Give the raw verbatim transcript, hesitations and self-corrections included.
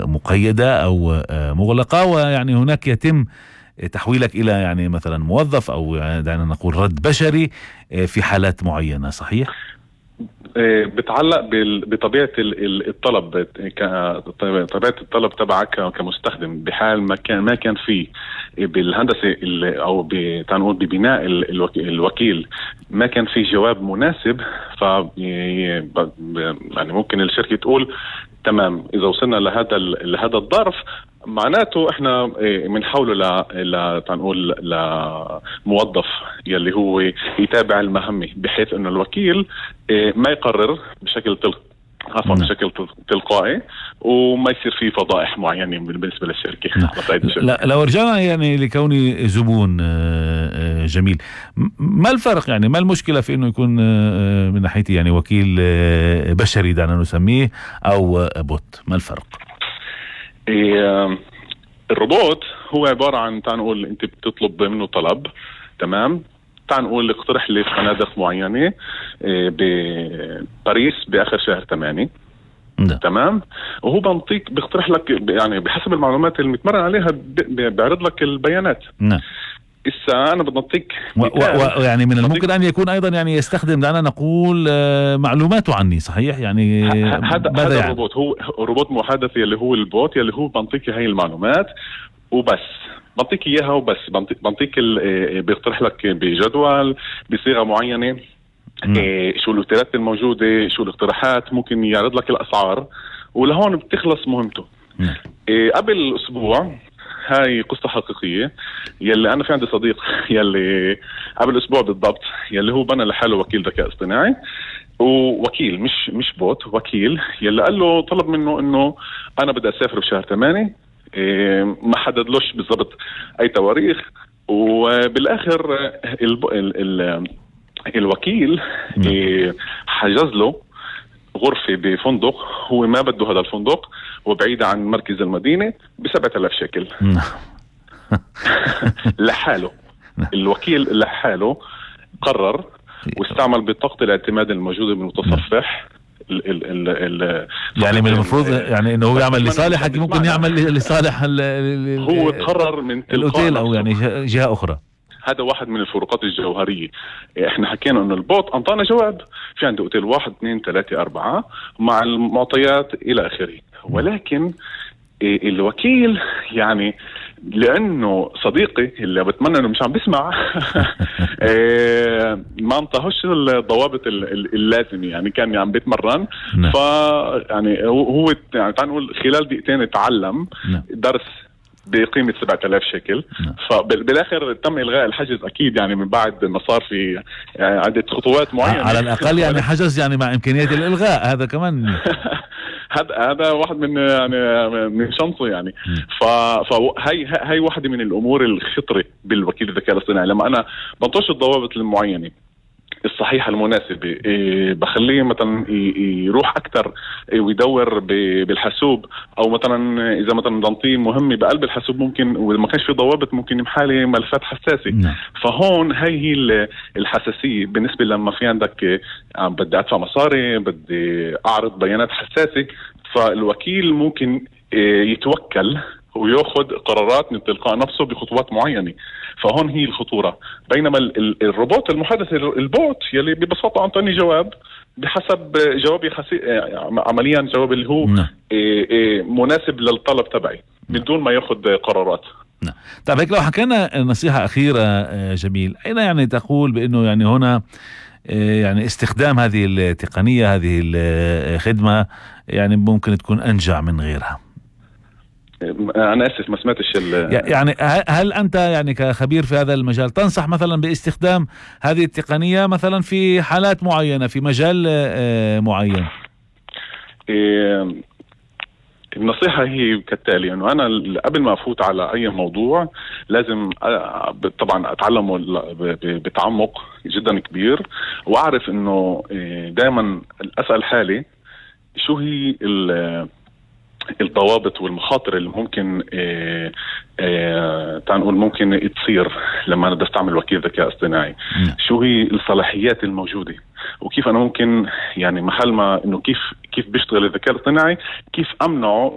مقيدة أو مغلقة، ويعني هناك يتم تحويلك إلى يعني مثلا موظف أو دعنا نقول رد بشري في حالات معينة، صحيح؟ بتعلق بطبيعة الطلب، طبيعة الطلب تبعك كمستخدم. بحال ما كان ما كان فيه بالهندسة أو بتنقول ببناء الوكيل ما كان فيه جواب مناسب، ف يعني ممكن الشركة تقول تمام إذا وصلنا لهذا لهذا الظرف معناته احنا بنحوله ل ل تنقول لموظف يلي هو يتابع المهمة، بحيث انه الوكيل ما يقرر بشكل تلقائي عفوا بشكل تلقائي وما يصير فيه فضائح معينة بالنسبة للشركة. لا لو رجعنا يعني لكوني زبون جميل، ما الفرق يعني ما المشكلة في انه يكون من ناحيتي يعني وكيل بشري دعنا نسميه او بوت؟ ما الفرق؟ إيه الروبوت هو عبارة عن تنقول انت بتطلب منه طلب، تمام، تنقول اقترح لي فنادق معينة إيه بباريس بآخر شهر ثمانية، تمام، وهو بنطيك بيقترح لك يعني بحسب المعلومات اللي متمرن عليها بيعرض لك البيانات. نعم. إسا أنا بنطيك ويعني من الممكن أن يكون أيضا يعني يستخدم دعنا نقول معلوماته عني، صحيح؟ يعني هذا هذا يعني الروبوت هو روبوت محادث يلي هو البوت يلي هو بنطيك هاي المعلومات وبس، بنطيك إياها وبس، بنطيك بيقترح لك بجدول بصيغة معينة إيه شو الاوتيلات الموجودة، شو الاقتراحات، ممكن يعرض لك الأسعار، ولهون بتخلص مهمته. إيه قبل أسبوع، هاي قصة حقيقية، يلي أنا في عندي صديق يلي قبل أسبوع بالضبط يلي هو بنى لحاله وكيل ذكاء اصطناعي، ووكيل مش مش بوت، وكيل يلي قال له طلب منه إنه أنا بدي أسافر بشهر ثمانية، إيه ما حددلوش بالضبط أي تواريخ، وبالآخر ال ال ال الوكيل إيه حجز له غرفة بفندق هو ما بده هذا الفندق وبعيد عن مركز المدينة بسبعة آلاف شكل لحاله. الوكيل لحاله قرر واستعمل بطاقة الاعتماد الموجودة بالمتصفح ال ال ال ال يعني من المفروض يعني انه هو يعمل لصالحك، ممكن يعمل لصالح هو قرر من الاوتيل او يعني جهة اخرى. هذا واحد من الفروقات الجوهرية. احنا حكينا انه البوت انطانا جواب في عنده اوتيل واحد اثنين ثلاثة اربعة مع المعطيات الى اخره، ولكن الوكيل يعني لانه صديقي اللي بتمنى انه مش عم بسمع ما انطاهوش الضوابط اللازمة، يعني كان عم بيتمرن ف يعني هو يعني تعال نقول خلال دقيقتين اتعلم درس بقيمة سبعة آلاف شكل. فبالآخر تم إلغاء الحجز أكيد، يعني من بعد ما صار في يعني عدة خطوات معينة على الأقل يعني حجز يعني مع إمكانية الإلغاء، هذا كمان هذا هذا واحد من يعني من شنطه يعني. فهي هي واحدة من الأمور الخطرة بالوكيل الذكاء الاصطناعي، لما أنا بنطش الضوابط المعينة الصحيحة المناسبة إيه بخليه مثلا يروح أكتر إيه ويدور بالحاسوب، أو مثلا إذا مثلا ضنطيه مهمة بقلب الحاسوب ممكن وما كانش في ضوابط ممكن يمحالي ملفات حساسة. م. فهون هي هي الحساسية بالنسبة لما في عندك إيه بدي أدفع مصاري، بدي أعرض بيانات حساسة، فالوكيل ممكن إيه يتوكل ويأخذ قرارات من تلقاء نفسه بخطوات معينة. فهون هي الخطورة. بينما الروبوت المحادث البوت يلي ببساطة أعطاني جواب بحسب جوابي خسي... عمليا جواب اللي هو نعم. إيه إيه مناسب للطلب تبعي من دون ما يأخذ قرارات. نعم. طيب هيك لو حكينا نصيحة أخيرة جميل، أين يعني تقول بأنه يعني هنا يعني استخدام هذه التقنية هذه الخدمة يعني ممكن تكون أنجع من غيرها؟ أنا آسف ما سمعتش يعني هل أنت يعني كخبير في هذا المجال تنصح مثلا باستخدام هذه التقنية مثلا في حالات معينة في مجال معين؟ النصيحة هي كالتالي، أنه أنا قبل ما أفوت على أي موضوع لازم طبعا أتعلمه بتعمق جدا كبير، وأعرف أنه دائما أسأل حالي شو هي الضوابط والمخاطر اللي ممكن إيه إيه تنقول ممكن تصير لما أنا بستعمل وكيل ذكاء اصطناعي. شو هي الصلاحيات الموجودة، وكيف أنا ممكن يعني محل ما إنه كيف كيف بيشتغل الذكاء الاصطناعي كيف أمنعه